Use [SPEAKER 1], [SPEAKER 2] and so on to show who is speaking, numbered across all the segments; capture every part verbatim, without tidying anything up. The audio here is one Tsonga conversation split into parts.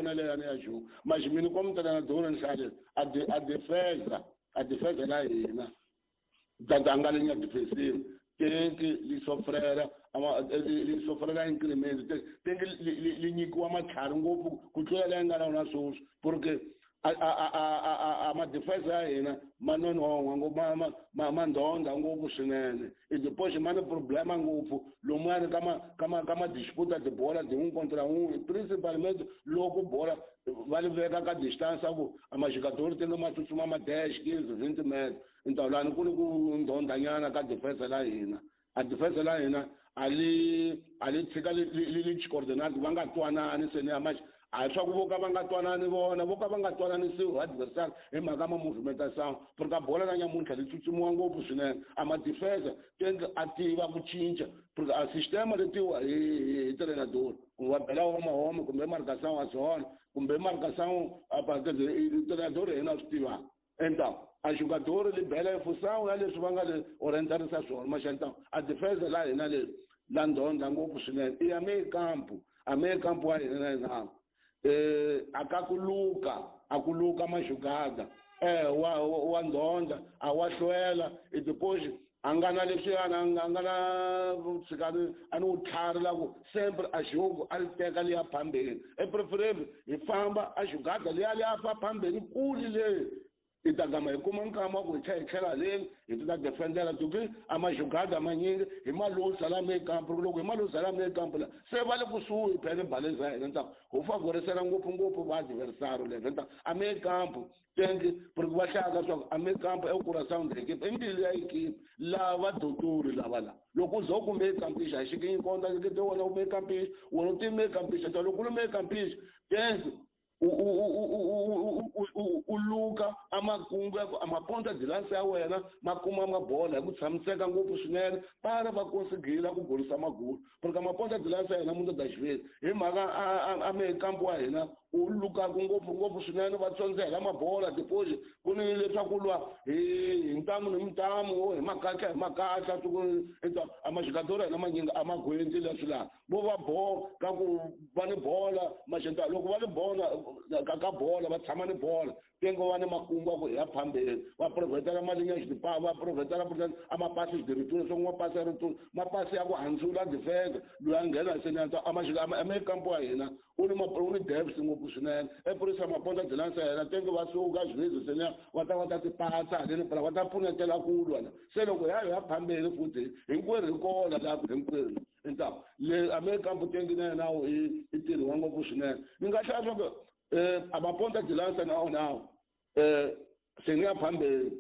[SPEAKER 1] yona leyani ya jogo mas mina como treinador ni a de, a defesa a defesa la hina da linha defensiva tem que lhe sofrer lhe sofrer incremento tem, tem que lhe nyikiwa matlhari ngopfu ku tlula leyi nga na wona sweswi porque a a a a a ma defesa ya hina ma nonohwa ngopfu ma ma ma ma ndhondha ngopfu swinene e depois ma ni problema ngopfu lomuyani ka ma ka ma ka ma disputa tibola tin'we contra un'we principalmente loko bola va li veka ka distance ku a majogador te ma tsutsuma ma dez quinze vinte metros então lani ku ni ku ndhondhanyana ka defesa la hina a defesa la hina a li a li tshika li li li coordinate va nga twanani se ni ya ma a swa ku vo ka va nga twanani vona vo ka va nga twananisiwi adversary hi mhaka ma movimentation porque a bola na nyamuntlha li tsutsumuwa ngopfu swinene a ma defensa tenke a tiva ku cinca porque a sistema letiwa hi hi treinador kumbe va bela wa mahome kumbe marcação a zona kumbe marcação a treinador yena a swi tivaka então a jogador li bela função ya leswi va nga le orientarisa swona mas então a defesa la hina le la ndhondha ngopfu swinene i ya meio campo a meio campo wa hina na hina eh akakuluka akuluka majugada eh wa wa ndhondha a wa hlwela e depois a nga na leswiyana a nga na tshikani a ni wutlhari la ku sempre a jogo a li teka liya phambeni e preferable hi famba a jugada liya liya fa phambeni kuli le i ta gama hi kuma nkama wa ku hi tlhela hi tlhela haleni hi ti ta defendela tuki a majugada manyingi hi malusa la meio campo loko hi malusa la meio campo la se va le kusuhi phela baleza ya hina nta ho favorisela ngopfungopfu va adversário leve nta a meio campo tenke porque va hlaya swa ku a meio campo é o coração da equipe i mbilu ya equipe lava dotori lava la loko u ze u ku meio campista a xi konta ke wona u meio campista wona u ti meio campista ta loko u ri meio campista tenke u luka a makungu ya ku a maponta de lança ya wena ma kuma mabola hi ku tshamiseka ngopfu swinene para va konsigila ku golisa magulu porque a maponta de lança ya hina munhu da xiviri hi mhaka a meio campo wa hina u lukaku ngopfu ngopfu swinene va tsondzela mabola depois ku ni leswaku lwa hi hi ntamu ni ntamu hi makatla hi makatla a majogador ya hina manyingi a ma gwendzi leswi laha vo va bo ka ku va ni bola maxenta loko va ni bola ka ka bola va tshama ni bola tengo va ni makungu ya ku hi ya phambeni va provhetela malinha xidipa va provhetela a mapasi de retour swo mapasi ya retour mapasi ya ku handzula defense loyi a nghena se ni a meio campo wa hina u ni u ni depth ngopfu swinene e purisa maponta de lança ya hina tenke va suka xivezi se niya va ta va ta tipatsa haleni phela va ta pfunetela ku lwa la se loko ya ya phambeni futhi hinkwerhu hi kona la hinkwerhu então le a meio campo tenke na yena i i tirhiwa ngopfu swinene ni nga hlaya swa ku eh a maponta de lança na wona eh se ni ya phambeni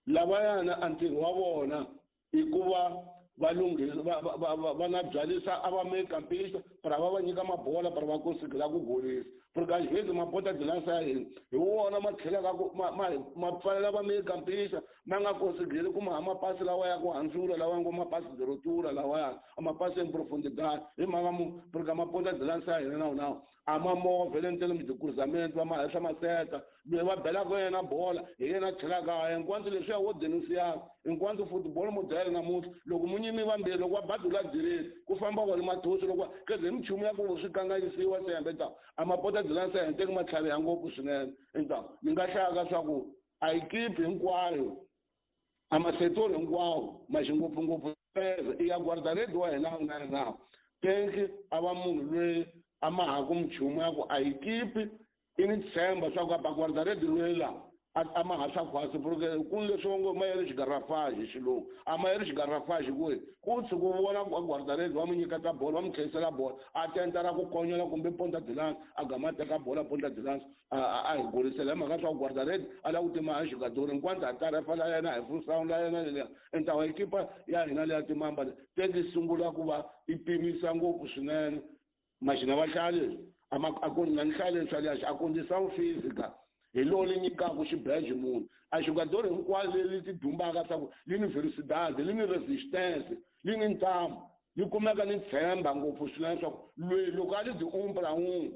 [SPEAKER 1] lavayana a ntirho wa vona i ku va va lunghisa va va va va na byalisa a va meio campista para va va nyika mabola para va konsigila ku golisa porque às vezes maponta de lança ya hina hi wona ma tlhelaka ku ma ma ma pfalela va meio campista ma nga konsigili ku ma mapasi lawa ya ku handzula lawa ngo mapasi de rotura lawaya a mapasi en profundidade hi mhaka mu porque maponta de lança ya hina na wona a ma movha le ntlhelo de cruzamento va ma henhla maseta loyi va belaka yena bola hi yena tlhelaka enquanto leswiya wo denunciar enquanto football model namuntlha loko munyimi vambirhi loko va badula direct ku famba vona mathosi loko keze hi minchumu ya ku swi kanganyisiwa sembe ta a mapota de lança ya teki matlhari ya ngopfu swinene então ni nga hlaya swa ku a equipe hinkwayo a masetori hinkwawo ma xingopfungopfu i ya guarda-redes wa hina na na tenke a va munhu loyi a ma ha ku minchumu ya ku a equipe i ni tshemba swa ku a guarda-redes loyi la a ma ha swa khwasi porque ku ni leswi ngo ma yeri xigarafage hi xilungu a ma yeri xigarafage ku ku tshuka u vona ku guarda-redes va mu nyiketa bola va mu tlherisela bola a tentela ku konyola kumbe ponta de lança a gama a teka bola ponta de lança a hi golisela hi mhaka swa ku guarda-redes a lava ku tima a jogador enquanto a tarefa la yena hi função la yena leliya entawa ekipa ya hina leya timamba teki sungula ku va i pimisa ngopfu swinene maxina va hlaya leswi a ku na ni hlaya leswi a condição física hi lowu li nyikaka xibeje munhu a jogador hinkwalo leri ti dumbaka swa ku li ni velocidade li ni resistance li ni ntamu li kumeka ni tshemba ngopfu swinene swa ku loyi loko a li di umpla un'we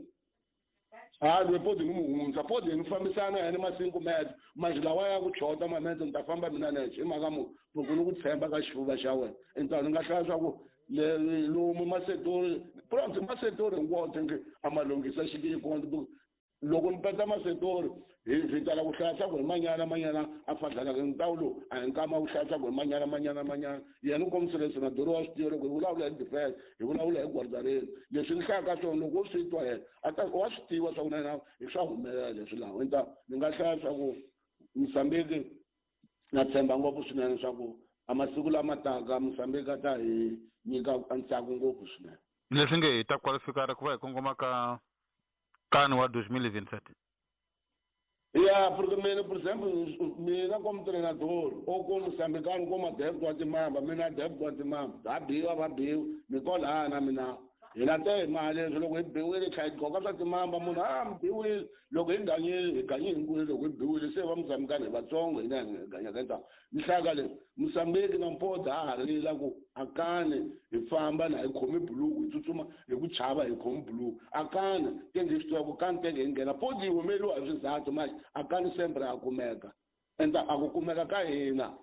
[SPEAKER 1] ha loyi podi ni mu hundza podi ni fambisana yena ma cinco metro mas lawa ya ku chota mametro ni ta famba mina nexe hi mhaka mu loko ni ku tshemba ka xifuva xa wena então ni nga hlaya swa ku lomu masetori pronto masetori hinkwawo tinge a ma lunghisa xikikonto loko ni peta masetori hi hi tala ku hlaya swa ku hi manyana manyana a fadlalaka ntawulo a hi nkama ku hlaya swa ku hi manyana manyana manyana yena u kombisile senadoro wa swi tiva loko hi vulavula hi defense hi vulavula hi guardareni leswi ni hlayaka swona loko wo swi twa yena a ta wa swi tiva swa ku na yena hi swa humelela leswi laha enta ni nga hlaya swa ku Mozambique na tshemba ngopfu swinene swa ku a masiku lama taka Mozambique a ta hi nyika ntsako ngopfu swinene
[SPEAKER 2] leswi nge hi ta qualifikara ku va hi kongoma ka CAN wa dois mil e vinte e sete
[SPEAKER 1] ya porque mina por exemplo mina como treinador ou como moçambicano como adepto wa timamba mina adepto wa timamba va biwa va biwa ni kwalana mina hi na te mali leswi loko hi biwile tlha hi gqoka swa timamba munhu a mi biwile loko hi ganyile hi ganye hinkwenu loko hi biwile se va Mozambicano hi vatsongo hina hi ganyaka hinkwavo ni hlaya leswi Mozambique na Mpoda ha ha rila ku akani hi famba na hi khomi buluku hi tsutsuma hi ku chava hi khomi buluku akani tenge hi swi tiva ku kani tenge hi nghena podi yi humeliwa hi swizathu manje akani sempre a kumeka ende a ku kumeka ka hina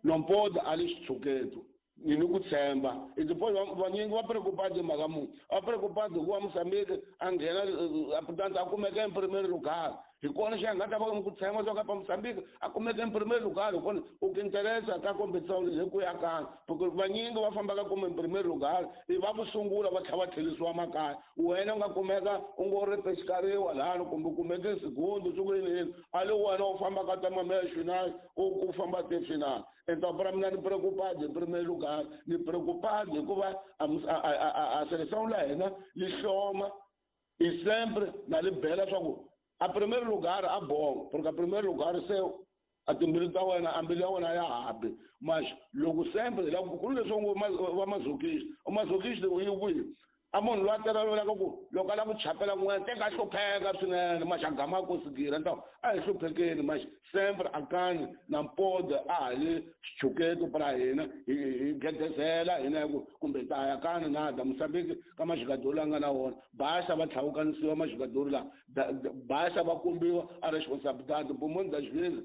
[SPEAKER 1] Nompoda a li xitshuketo ni ni ku tshemba i vanyingi va preocupado hi mhaka munhu va preocupado hikuva Mozambique a nghena portanto a kumeka em primeiro lugar hi kona xi nga ta va ku tshemba swa ka Mozambique a kumeka em primeiro lugar hi kona u ku interesa ka competição leyi ku ya kani porque vanyingi va fambaka kuma em primeiro lugar i va ku sungula va tlhela va tlherisiwa makaya wena u nga kumeka u ngo ri pexikariwa lani kumbe u kumeke segundo swi ku yini yini a le wena u fambaka ta mameya final u famba te final então para mina ni preocupado em primeiro lugar ni preocupado hikuva a a a seleção la hina li hloma i sempre na li bela swa ku a primeiro lugar a bom porque a primeiro lugar se a timbilu ta wena a mbilu ya wena ya habi mas loko sempre la ku leswi ngo va mazokisti u mazokisti u yi kwihi a munhu loyi a tolovelaka ku loko a lava ku chapela kun'wana teka a hlupheka swinene maxi a gama a kosigile nta a hi hluphekeni maxi sempre akani na Mpoda a ha li xichuketo pra hina hi hi gedezela hina hi ku kumbe ta ya kani na da Mozambique ka maxigadori la nga na wona basa va tlhawukanisiwa maxigadori la basa va kombiwa a responsabilidade por das vezes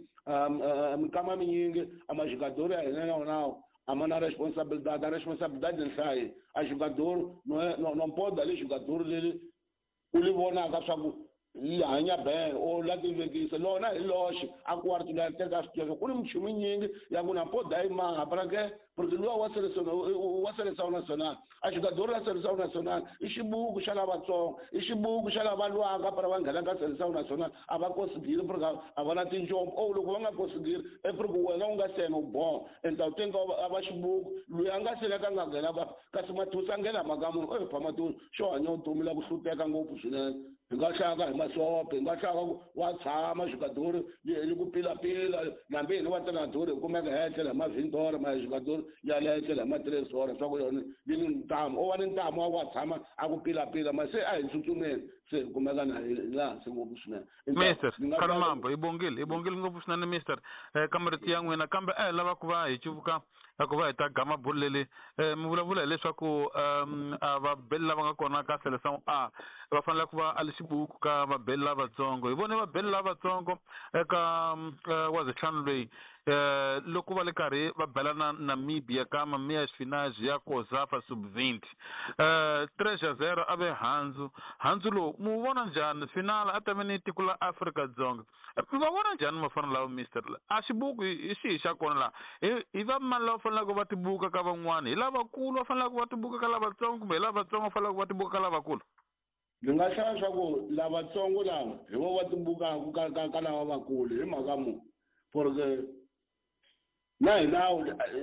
[SPEAKER 1] minkama minyingi a maxigadori ya hina na wonawo a mana responsabilidade a responsabilidade nhlayi a jogador não é não não pode ali jogador leli u li vonaka swa ku li hanya ben o la tivekisa lona hi loxe a ku wa ri teka swi tiva ku ni minchumu yinyingi ya ku na pod yi maha porque porque luwa wa seleção wa seleção nacional a jogador la seleção nacional i xibuku xa lavatsongo i xibuku xa lava lwaka para va nghena ka seleção nacional a va konsigiri porque a va na tinjombo o loko va nga konsigiri i porque wena u nga sena u bon enta u tenga a va xibuku loyi a nga seleka a nga nghena kasi Mathusa a nghena mhaka munhu e pha Mathusa xo hanya vutomi la ku hlupeka ngopfu swinene hi nga hlaka hi masope hi nga hlaka ku wa tshama jogador li ku pilapila nambi hina va treinador hi kumeka hi etlela hi mavhindora ma jogador ya le etlela hi ma-tres hora swa ku yona yi ni ntamu o va ni ntamu wa ku wa tshama a ku pilapila ma se a hi tsutsumeni se hi kumeka na hi laha hansi ngopfu swinene
[SPEAKER 2] mister Khalimambo hi bongile hi bongile ngopfu swinene mister ka marito ya n'wina kambe a hi lava ku va hi cuvuka ku va hi ta gama bulu leri mi vulavula hileswaku a vabeli lava nga kona ka seleção A va fanele ku va a li xibuku ka vabeli lavatsongo hi vone vabeli lavatsongo eka wa zitlhanu loyi loko va le karhi va bela na Namibia ka mamias finais ya COSAFA sub vinte tres a zero a ve handzu handzu lowu mu vona njhani final a ta ve ni tiko la Afrika-Dzonga va vona njhani mafana lawa mister a xibuku hi xihi xa kona laha hi hi va mani lava faneleke va tibuka ka van'wani hi lavakulu va faneleke va tibuka ka lavatsongo kumbe hi lavatsongo va faneleke va tibuka ka lavakulu
[SPEAKER 1] ni nga hlaya swa ku lavatsongo lava hi vo va tibukaka ka ka ka lava vakulu hi mhaka mu porque na hina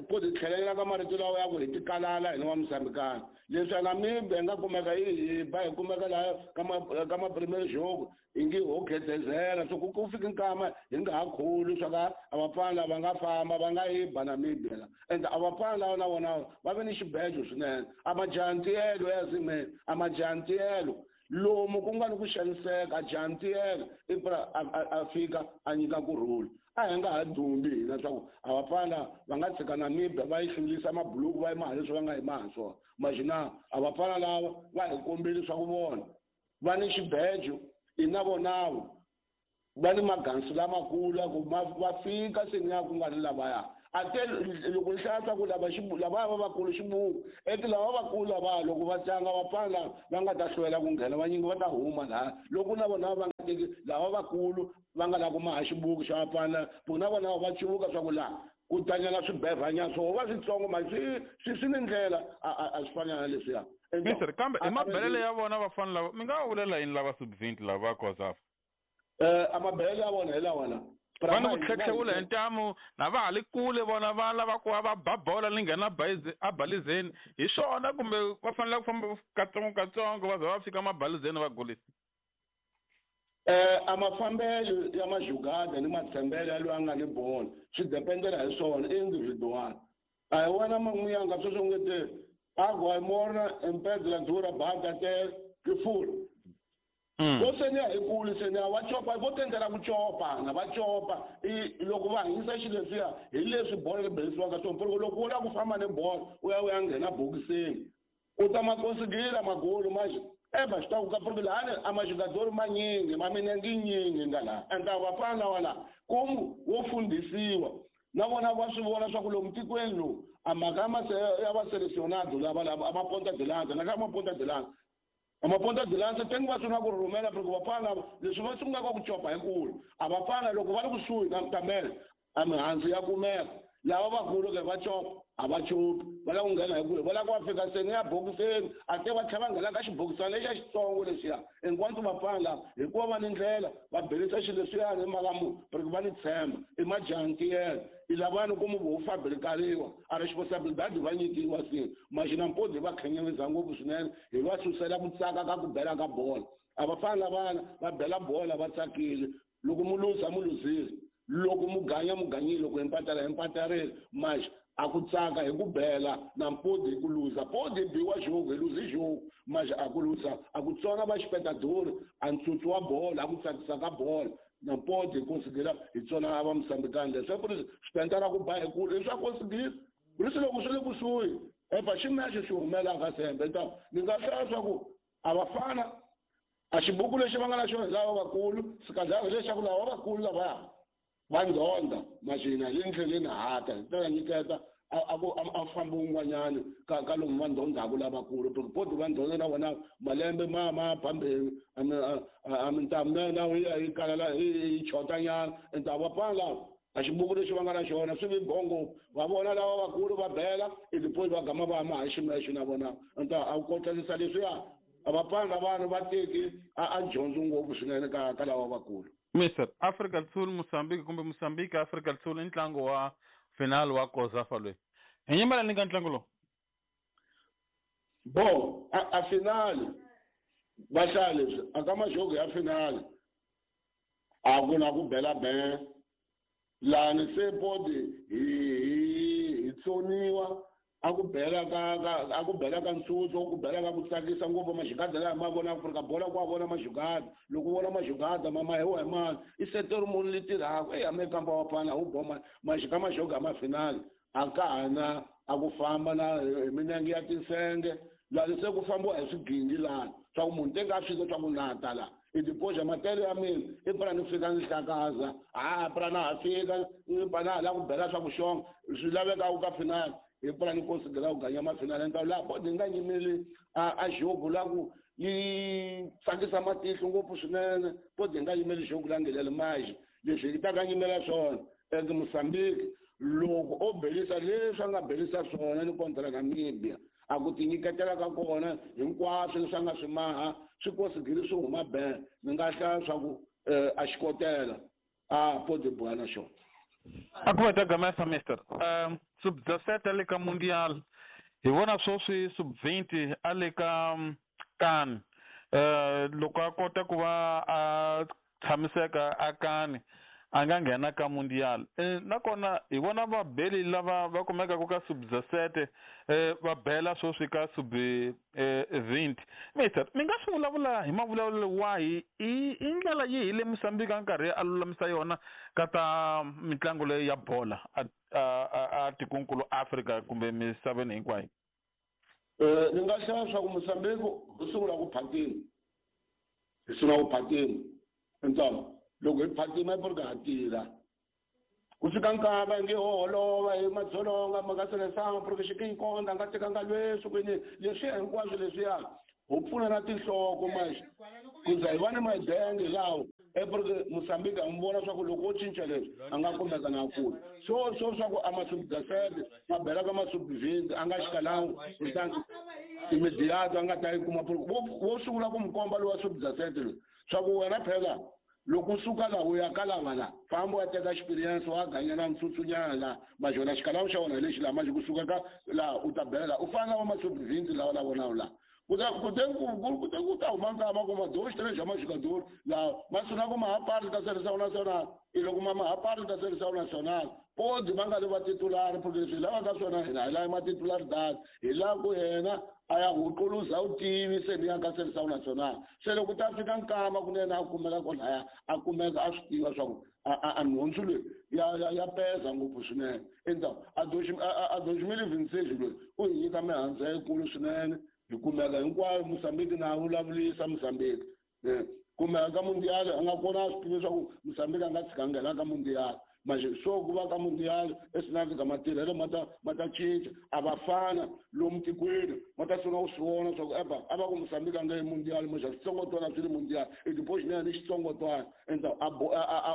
[SPEAKER 1] po ti tlhelela ka marito lawa ya ku hi tikalala hina wa Mozambicana leswi a Namibia hi nga kumeka yi hi ba hi kumeka laha ka ma ka ma primeiro jogo hi nge ho gedezela so ku ku fika nkama hi nga ha khuli swa ka a vapfana lava nga famba va nga yi ba Namibia la ende a vapfana lava na vona va ve ni xibejo swinene a majantiyelo ya zime a majantiyelo lomu ku nga ni ku xaniseka a jantiyelo i pra a fika a nyika kurhula a hi nga ha dumbi hina swa ku a vapfana va nga tshika Namibia va yi hlulisa mabuluku va yi maha leswi va nga yi maha swona maxina a vapfana lava va hi kombile swa ku vona va ni xibejo i na vonavo va ni magansu lamakulu ya ku va fika se ni ya ku nga ri lavaya até loko ni hlaya swa ku lava lavaya va vakulu xibuku eti lava vakulu lavaya loko va tlanga vapfana lava va nga ta hlwela ku nghena vanyingi va ta huma laha loko na vona va nga teki lava vakulu va nga lava ku maha xibuku xa vafana ku na vona va civuka swa ku laha ku tanyana swibevhanyana swo va switsongo ma swi swi swi ni ndlela a a swi fana na leswiya.
[SPEAKER 2] Mister, kambe i mabelele ya vona vafana lava mi nga va vulela yini lava sub-twenty lava va COSAFA?
[SPEAKER 1] Eh a mabelele ya vona hi lawa la.
[SPEAKER 2] Va ni ku tlhetlhewula hi ntamu na va ha li kule vona va lava ku va va ba bola ni nghena a balizeni hi swona kumbe va fanele ku famba katsongo katsongo va za va fika mabalizeni va golisa?
[SPEAKER 1] Eh a mafambelo ya majugada ni matshembele ya loyi a nga ni bolo swi dependela hi swona individual. A hi wena man'wiyanga sweswo nge te agua morna empedla dura bata te ke fula. Vo seniya hi kulu seniya va copa vo tendela ku copa na va copa i loko va hanyisa xilo leswiya hi leswi bolo ri belisiwaka swona porque loko u lava ku famba ni bolo u ya u ya nghena bokisini u ta ma konsigila magolo manje eva xi ta ku ka porque lahani a majugadori manyingi ma minenge yinyingi nga laha enta vafana lava laha komu wo fundhisiwa na vona va swi vona swa ku lomu tikweni lowu a mhaka ya va selecionado lava lava a maponta de lanza na ka maponta de lanza a maponta de lanza tengi va sungula ku rhumela porque vafana lava leswi va sungulaka ku copa hi kulu a vafana loko va ri kusuhi na tamele a mihandzu ya kumeka lava vakulu ke va copa a va copi va lava ku nghena hi kule va lava ku va fika seni ya bokiseni a te va tlhela va nghena ka xibokisana lexiya xitsongo lexiya hinkwato vafana lava hikuva va ni ndlela va belisa xilo leswiyani hi mhaka mu porque va ni tshemba i majantiyela i lavani ku mu vo fabrikariwa a responsibilidade va nyikiwa sini maxina mpodi va khenyevisa ngopfu swinene hi va susela ku tsaka ka ku bela ka bolo a va fana lavana va bela bola va tsakile loko mu luza mu luzile loko mu ganya mu ganyile loko hi mpatala hi mpatarile manje a ku tsaka hi ku bela na mpodi hi ku luza podi hi biwa jogo hi luzi jogo manje a ku luza a ku tsona va xipetadori a ntsutsu wa bolo a ku tsakisa ka bolo na mpodi hi konsigila hi tsona a va musambikani leswi ku ri swipentara ku ba hi kulu i swa konsigila ku ri loko swi le kusuhi efa ximexe xi humelaka sembe ta ni nga hlaya swa ku a vafana a xibuku lexi va nga na xona hi lava vakulu sikadlaka lexaku lava vakulu lavaya va ndhonda maxina hi le ndleleni hata hi ta nyiketa a ku a famba un'wanyani ka ka lomu va ndhondhaku lavakulu porque poti va ndhonda na vona malembe ma ma phambeni a mintamu na na yi yi kalala yi chotanyana enta va fana lava a xibuku lexi va nga na xona swi vi bongo va vona lava vakulu va bela i tipoti va gama va ma ha ximexo na vona enta a ku kotlanisa leswiya a va fana vanhu va teki a a dyondzi ngopfu swinene ka ka lava vakulu.
[SPEAKER 2] Mister Afrika do Sul Mozambique kumbe Mozambique Afrika do Sul i ntlangu wa final wa COSAFA loyi hi nyimela ni ka ntlangu lowu
[SPEAKER 1] bo a, a final va hlaya leswi a ka majogo ya final a ku na ku bela be lani se podi hi hi hi tsoniwa a ku bela ka ka a ku bela ka ntsutso ku bela ka ku tsakisa ngopfu majugada laha ma vona Afrika bola ku a vona majugada loko u vona majugada ma ma hi wa hi mani i seteri munhu li tirhaka eyi ame kamba wa fana wu boma majika majoga ma final a ka ha na a ku famba na hi minenge ya tinsenge lani se ku fambiwa hi swigingi lani swa ku munhu teka a swi swa ku nata la i tipoxa matele ya mina i pfuna ni fika ni hlakaza a pfuna na ha fika ni pfuna na ha lava ku bela swa ku xonga swi lavekaka ka final hi pfuna ni konsidera ku ganya mafinale ni ta laha podi nga nyimeli a a jogo la ku yi tsakisa matihlo ngopfu swinene podi nga yimeli jogo la ngelele maji leswi yi ta ka nyimela swona eke Mozambique loko o belisa leswi a nga belisa swona ni kontra Namibia a ku tinyiketela ka kona hinkwaswo leswi a nga swi maha swi konsigili swi huma be ni nga hlaya swa ku a xikotela a podi boha na xona.
[SPEAKER 2] A ku va ta gamesa mister um sub-dezessete le ka mundial hi vona sweswi sub-twenty a le ka kani uh loko a kota ku va a tshamiseka a kani a nga nghena ka mundial eh, nakona hi vona vabeli lava va kumekaka ka sub-dezessete eh, va bela sweswi ka sub-twenty. Mister mi nga swi vulavula hi mavulavulelo wahi i i ndlela yihi le Mozambique a nkarhi a lulamisa yona ka ta mitlangu leyi ya bola a a a tikonkulu Afrika kumbe misaveni hinkwayo?
[SPEAKER 1] Eh ni nga hlaya swa ku Mozambique u sungula ku phatima hi sungula ku phatima ntsongo loko hi phatima i porque ha tirha ku fika nkava nge ho holova hi madzolonga ma nga selesanga porque xikinkonda nga tekanga leswi kwini leswiya hinkwaswo leswiya ho pfuna na tinhloko manje ku za hi va ni madenge lawo April Mozambique a n'wi vona swa ku loko o cinca leswi a nga kumeka na kula so so swa ku a masubdasete ma bela ka masubvinti a nga xikalangu kutani imediato a nga ta yi kuma vo sungula ku n'wi komba lowa subdasete loyi swa ku wena phela loko u suka laha u ya ka lava la famba u ya teka experience wa ganyana ntsutsunyana laha majona xikalawu xa wona hi lexi laha manje kusuka ka laha u ta bela laha u fana na va masubvinti lawa la vonaku laha kute kute ku ta huma nkama kuma dox três já mais jogador lá mas se não como a parte da seleção nacional e logo uma a parte da seleção nacional pode manga levar titular porque se lá da sona lá é uma titularidade e lá ku yena aya huquluza o time se ni ya ka seleção nacional se loko ta fika nkama kunene a kumeka kona a kumeka a swi tiva swa ku a nhundzu leyi ya ya ya peza ngopfu swinene então a dois mil e vinte e seis loyi u hi nyika mihandzu yikulu swinene hi kumeka hinkwayo Mozambique na vulavurisa Mozambique kumeka ka mundial a nga kona a swi tiva leswaku Mozambique a nga tshika nghena ka mundial manje so ku va ka mundial esinaka matirhelo ma ta ma ta cinca a va fana lomu tikweni ma ta sungula ku swi vona swa ku eba a va ku Mozambique a nga yi mundial manje switsongotwana swi ri mundial i tipoxinene ni xitsongotwana enta a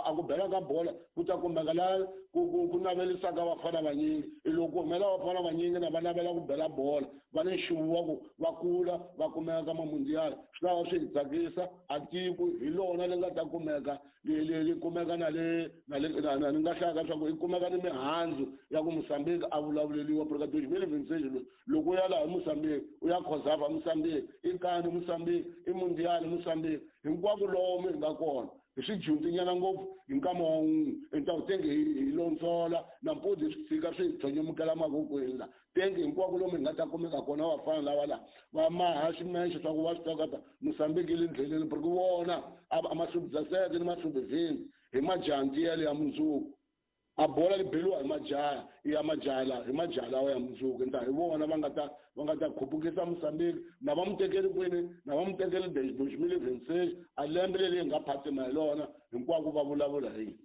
[SPEAKER 1] a ku bela ka bola ku ta kumeka laha ku ku ku navelisaka vafana vanyingi i loko humela vafana vanyingi na va navela ku bela bola va ni nxuvu wa ku va kula va kumeka ka mamundial swi ta va swi hi tsakisa a tiko hi lona li nga ta kumeka li li li kumeka na le na le na ni nga hlaya ka swa ku i kumeka ni mihandzu ya ku Mozambique a vulavuleliwa porque dois mil e vinte e seis loko u ya laha Mozambique u ya Cosafa Mozambique i kani Mozambique i mundial Mozambique hinkwako lomu hi nga kona hi swi dyondzinyana ngopfu hi nkama wa wun'we enta tenge hi londzola nampundzu hi swi tshika swi hi tsonyomukela mavokweni la tenge hinkwako lomu hi nga ta kumeka kona vafana lava la va maha ximexe swa ku va swi tiva Mozambique yi le ndleleni porque vona a masubdasete ni masubvinti hi majanti yale ya mundzuku a bola li beliwa hi majaha ya majaha la hi majaha lawa ya mundzuku nta hi vona va nga ta va nga ta khupukisa Mozambique na va mu tekeli kwini na va mu tekeli dois mil e vinte e seis a lembe leri hi nga phatima hi lona hinkwako va vulavula hi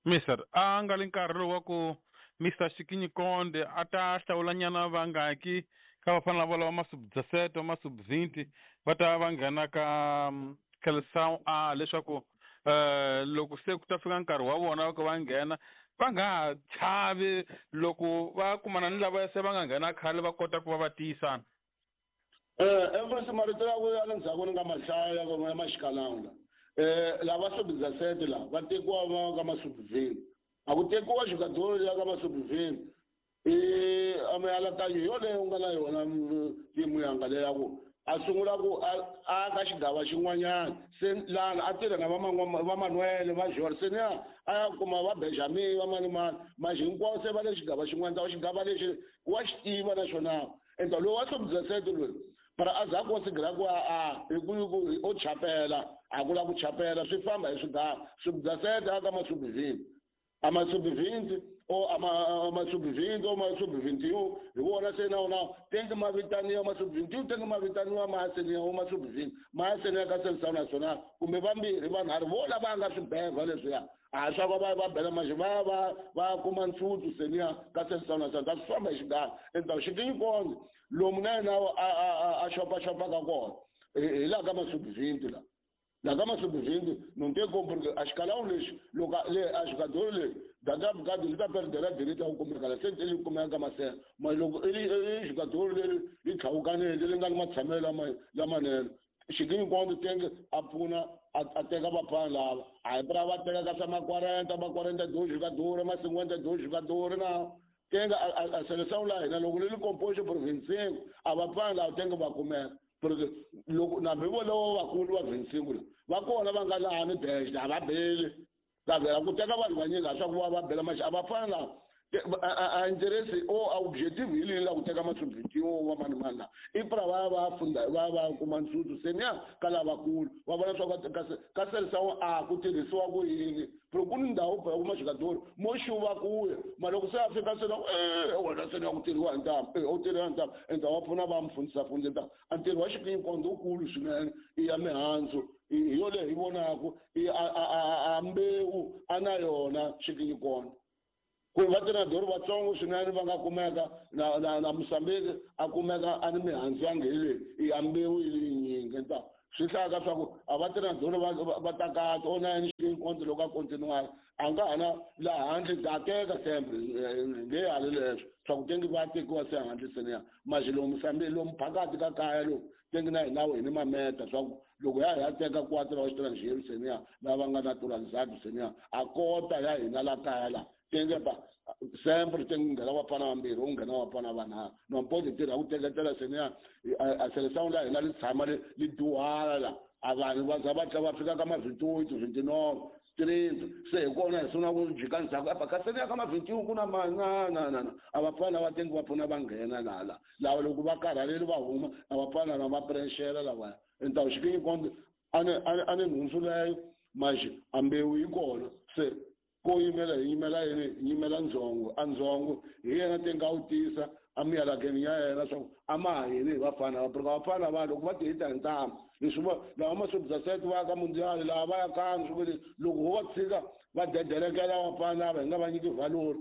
[SPEAKER 2] mister a nga li nkarhi lowu wa ku Mister Xikinyi Konde a ta hlawulanyana vangaki ka vafana lava lava masubdasete va masubvinti va ta va nghena ka Seleção A leswaku um loko se ku ta fika nkarhi wa vona ku va nghena va nga ha chavi loko va kumana ni lava se va nga nghena khale va kota ku va va tiyisana.
[SPEAKER 1] Eh marito ya ya le ndzhaku ni nga ma hlaya ya maxikalanga eh lava subdasete la va tekiwa va ka masubvini a ku tekiwa jogador ya ka masubvini i a mianakanyo yoleyo u nga na yona timu yanga leya ku a sungula ku a ka xigava xin'wanyana se lana a tirha na va Manuel va Jorge se niya a ya kuma va Benjamin va mani mani manje hinkwavo se va le xigava xin'wana ta xigava lexi wa xi tiva naxona enta lowu wa subdasete loyi para a za ku sigira ku a hi ku o chapela a ku la ku chapela swi famba hi swigava subdasete a ka masubvinti a masubvinti o ama masubvinti o masubvinti yo hi vona se na wona tenge ma vitaniwa masubvinti yo tenge ma vitaniwa maaseniya o masubvinti maaseniya ka Seleção Nacional kumbe vambirhi vanharhu vo lava nga swibeva leswiya a swa ku va va bela manje va va va kuma ntsutsu seniya ka Seleção Nacional ta swi famba hi xigava enta Xikinyi Konde lomu na yena a a a xopaxopaka kona hi laha ka masubvinti la laha ka masubvinti não tem como porque a escalão lexi loko le a jogador le daqui a bocado ele tá perdendo a direita ao kumeka la se ele kumeka masela mas loko ele jogador leri li tlhawukanile li nga ni matshamelo lama lamanene Xikinyi Konde tenge a pfuna a teka vafana lava a hi pra va teka ka swa ma quarenta ma quarenta dois jogador ma cinquenta dois jogador na tenge a seleção la hina loko li composto por vinte e cinco a vafana lava tenge va kumeka porque loko nambi volovo vakulu va vinte e cinco la va kona va nga laha ni bench a va beli ka ku teka vanhu vanyingi a swa ku va va bela maxi a va fana lava a interesse o a objetivo hi leyi la ku teka masubvinti yo va mani mani la i pra va ya va funda va va kuma ntsutsu se niya ka lavakulu va vona swa ku ka Seleção A ku tirhisiwa ku yini porque ku ni ndhawu ya kuma jogador mo xuva kuya ma loko se a fika se na e wena se ni ya ku tirhiwa hi ntamu e u tirhiwa hi ntamu enta wa pfuna va mu fundisa fundisa a ntirho wa Xikinyi Konde wukulu swinene i ya mihandzu hi yo leyi hi vonaku i a a a mbewu a na yona Xikinyi Konde ku va tiradori vatsongo swinene va nga kumeka na na na Mozambique a kumeka a ni mihandzu ya ngheleni i ya mbewu yi yinyingi nta swi hlaya ka swa ku a va tiradori va va takata o na yini Xikinyi loko a continuar a nga ha na laha handle ta teka sempre nge hali leswo swa ku tengi va tekiwa se handle seniya maxi lomu sambi lomu phakathi ka kaya lomu tengi na hina hi ni mameta swa ku loko ya ya teka quatro wa xitranjheri seniya lava nga naturalizado seniya a kota ya hina la kaya la tenge ba sempre tengi nghena vafana vambirhi u nghena vafana vanharhu nompozi tirha ku teketela seniya a seleção la hina li tshama li li duhala la a vanhu va za va tla va fika ka ma vinte e oito vinte e nove trinta se hi kona hi sungula ku jika ndzhaku apa kasi ya ka ma vinte e um ku na ma na na na na a vafana va tengi va pfuna va nghena laha la lava loko va karhaleli va huma a vafana lava va prexela lavaya então xikinyi konde a ni a ni nhundzu leyo maxi a mbewu yi kona se ko yimela hi yimela yini hi yimela ndzhongo a ndzhongo hi yena tengi a wu tisa a miyalakeni ya yena swa ku a ma ha yini hi vafana va porque vafana va loko va ti hita hi ntamu leswi va lava masubsasete va ya ka mundial lava va ya kani swi ku loko ho va tshika va dedelekela vafana lava hi nga va nyiki valori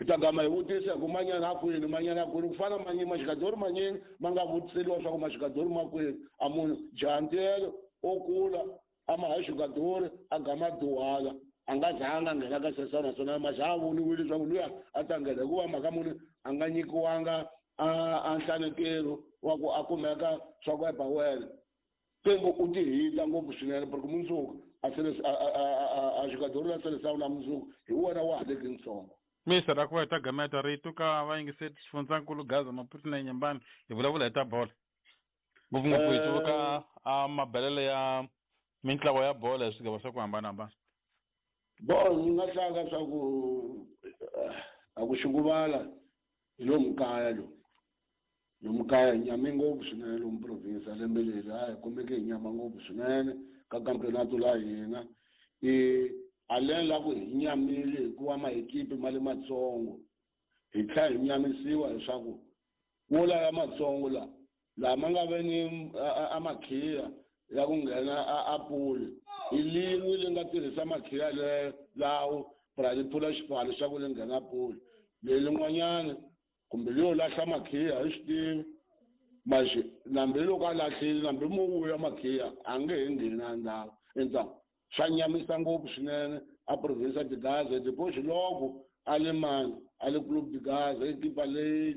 [SPEAKER 1] hi ta gama hi vutisa hi ku manyana a kwini manyana a kwini ku fana manyini maxikadori manyini ma nga vutiseliwa swa ku maxikadori ma kwini a munhu jantiyelo o kula a ma ha xikadori a gama duhala a nga zanga nghena ka sesana naswona maxi a voniwile leswaku luya a ta nghena hikuva mhaka muni a nga nyikiwanga a a nhlanekelo wa ku a kumeka swa ku epa wena tengo u ti hita ngopfu swinene porque mundzuku a sele a a a xikadori la seleção la mundzuku hi wena wa ha leki ntsongo.
[SPEAKER 2] Mister a ku va hi ta gameta rito ka vayingiseri xifundzankulu Gaza Maputo na Nyembani hi vulavula hi ta bolo ngopfungopfu hi tsundzuka a mabelelo ya mintlawa ya bolo hi swigava swa ku hambanahambana.
[SPEAKER 1] Bon ni nga hlanga swa ku a ku xikuvala hi lomu kaya lomu lomu kaya hi nyame ngopfu swinene lomu province lembe leri a hi kumeke hi nyama ngopfu swinene ka campeonato la hina i a lembe la ku hi nyamile hikuva maekipi ma le matsongo hi tlhela hi nyamisiwa leswaku wo laya matsongo la lama nga ve ni a makhiya ya ku nghena a puli hi lin'we li nga tirhisa makhiya leyo lawo pra li pfula xipfalo xa ku li nghena puli lelin'wanyana kumbe leyo lahla makhiya hi swi tivi maxi nambi loko a lahlile nambi mo vuya makhiya a nge he ngheni a ndhawu endzhaku swa nyamisa ngopfu swinene a province de Gaza depois loko a le mani a le Clube de Gaza ekipa leyi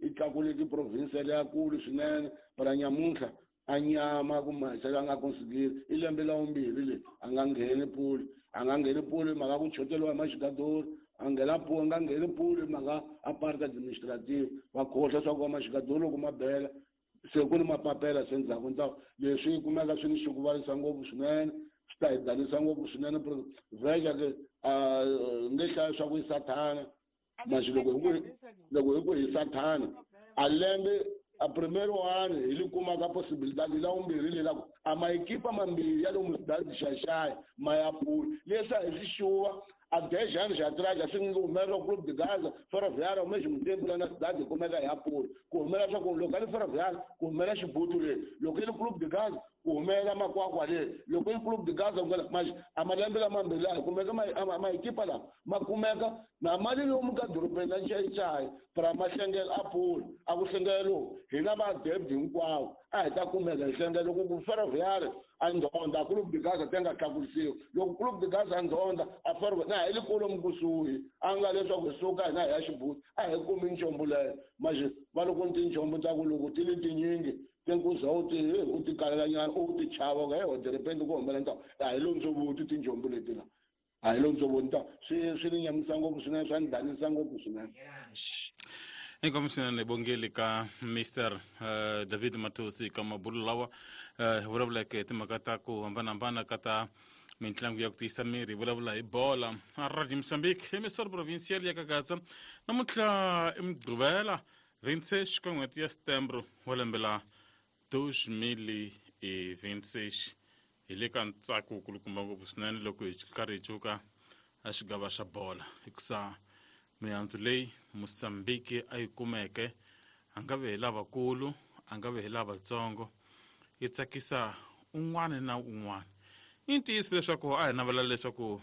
[SPEAKER 1] yi tlakuleke province leyakulu swinene para nyamuntlha a nyama ku mahisa a nga consigiri i lembe la vumbirhi leyi a nga ngheni puli a nga ngheni puli mhaka ku choteriwa hi maxikadori a nghena puli a nga ngheni puli mhaka a parte administrative va khohlwa swa ku va maxikadori loko ma bela se ku ni mapapela se ndzhaku ndzhaku leswi kumeka swi ni xikuvarisa ngopfu swinene swi ta hi danisa ngopfu swinene veja ke nge hlaya swa ku i sathana maxi loko hi ku loko hi ku hi sathana a lembe a primeiro ano hi li kumaka possibilidade la vumbirhi le la ku a maekipa mambirhi ya lomu cidade Xaxai ma ya pula leswi a hi swi xuva a dez anos atrás swi nge humelela Clube de Gaza Ferroviária ao mesmo tempo lá na cidade kumeka ya pula ku humelela swa ku loko a li Ferroviária ku humelela Xibutu leyi loko i li Clube de Gaza ku humelela Makwakwa leyi loko i Clube de Gaza ku mas a malembe lamambirhi laha kumeka maekipa lama ma kumeka na mali lomu ka dorobeni la Nxaxai para ma hlengela a pula a ku hlengela lowu hina va debit hinkwawo a hi ta kumeka hi hlengela loko ku Ferroviária a ndzhonda Clube de Gaza ti nga tlakusiwi loko Clube de Gaza a ndzhonda a Ferroviária na hi le kolomu kusuhi a nga leswaku hi suka hina hi ya Xibuti a hi kumi nchombo leyo maxi va loko ni tinchombo ta ku loko ti li tinyingi tinkuza u ti u ti kalelanyana u ti chava ka he de ku humelela ntawu a hi londzo tinjombo leti la a hi londzo nta swi swi ni nyamisa ngopfu swinene swa ni danisa ngopfu swinene.
[SPEAKER 3] Inkomu swinene bongeli ka Mister uh, David Matosi ka mabulu lawa uh, hi vulavuleke hi timhaka ta ku hambanahambana ka ta mintlangu ya ku tiyisa miri hi vulavula hi bola a Radio Mozambique hi misoro provincial ya ka Gaza namuntlha i Mugqivela vinte e seis ka n'hweti ya Setembro wa lembe la dois mil e vinte e seis hi le ka ntsako wu kulukumba ngopfu swinene loko hi karhi hi cuka a xigava xa bola hikusa mihandzu leyi Mozambique a yi kumeke a nga ve hi lavakulu a nga ve hi lavatsongo yi tsakisa un'wana na un'wana. I ntiyiso leswaku a hi navela leswaku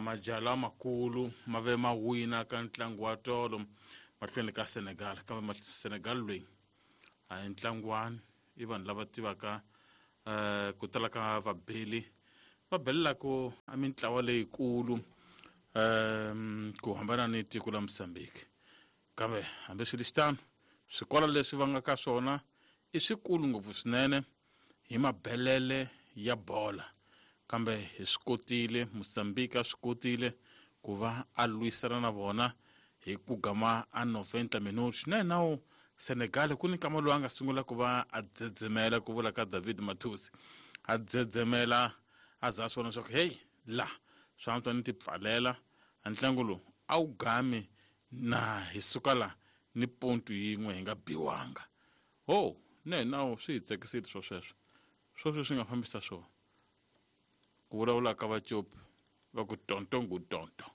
[SPEAKER 3] majaha lamakulu ma ve ma wina ka ntlangu wa tolo mahlweni ka Senegal kambe Senegal loyi a hi ntlangwani i vanhu lava tivaka uh, ku tala ka vabeli va belelaka a mintlawa leyikulu um ku hambana ni tiko la Mozambique. Kambe hambiswiritano swikolo leswi va nga ka swona i swikulu ngopfu swinene hi mabelele ya bola, kambe hi swi kotile Mozambique a swi kotile ku va a lwisana na vona hi ku gama a noventa minutos. Na nawu Senegal ku ni nkama lowu a nga sungula ku va a dzedzemela, ku vula ka David Mathusi, a dzedzemela a za a swi vona leswaku heyi la swi antswa ni ti pfalela a ntlangu lowu a wu gami na hi suka la ni pontu yin'we hi nga biwanga. Ho ne nawu swi hi tsakisile swo sweswo swoswo swi nga fambisa swona ku vulavula ka vacopi va ku tonto ngu tonto.